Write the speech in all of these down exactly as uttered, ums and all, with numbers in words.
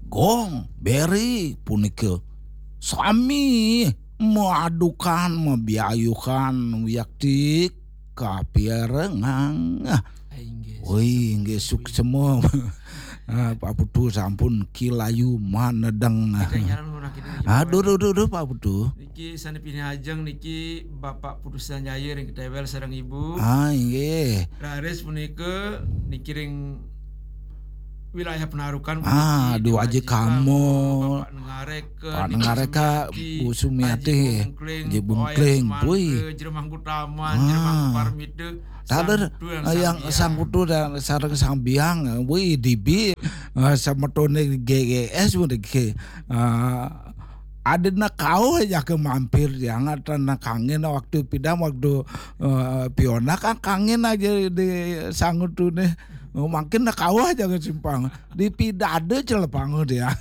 Gong, beri punika sami maadukan, mabiayuhan wiakti kapirengang. Ah, inggih. Woi, inggih suksema. Ah, Pak Putu sampun kilayu manedeng. Kita nyaran orang kita niki Aduh, Pak duh, duh, duh, Pak Putu. Niki sane pinih ajeng niki Bapak Putu Sanjaya ring Ketewel sareng Ibu. Ah, inggih. Raris punika niki ring wilayah Penarukan. Ah, punika Dua Aji Kamo. Bapak Nengareka, Pak Nengareka, Bu Sumiati, Haji Bungkling, Haji Bungkling, Wayan Sumantri, Jeremangku Taman, ah. Jeremangku Parmita, Taler, Sang Putu yang Sang Putu dan sareng Sang Biang, wih, dibi, eh, semetone G G S, wih, eh, adina kauh aja ke mampir, yang ada kangen waktu pindah, waktu, eh, Piona kan kangen aja di Sang Putu nih. Oh, makin nak kauh aja ke simpang. Di pidada celepang dia.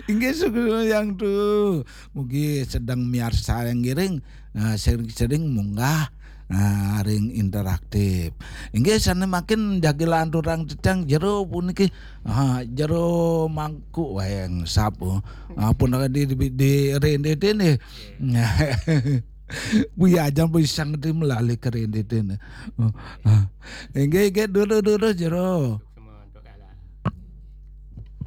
Inggih suku yang tu. Mugi sedang miarsa yang ngiring, nah, sering-sering munggah, nah, ring interaktif. Inggih sane makin jagi lanturang cecang jero puniki. Ah, jero mangkuk wayang sapu. Ah, pun di, di, di rende dene. Wih, aja pisang di melali ke rende dene. Oh, ah. Inggih, inggih, dulu, dulu, jero. Semua untuk kalah.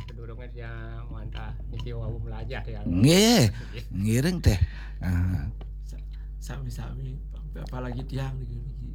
Kedurungan yang mantap. Niki wau melajah yang. Nggih, ngiring teh. Ah. Sa-, sami-sami, apalagi tiang niki, niki.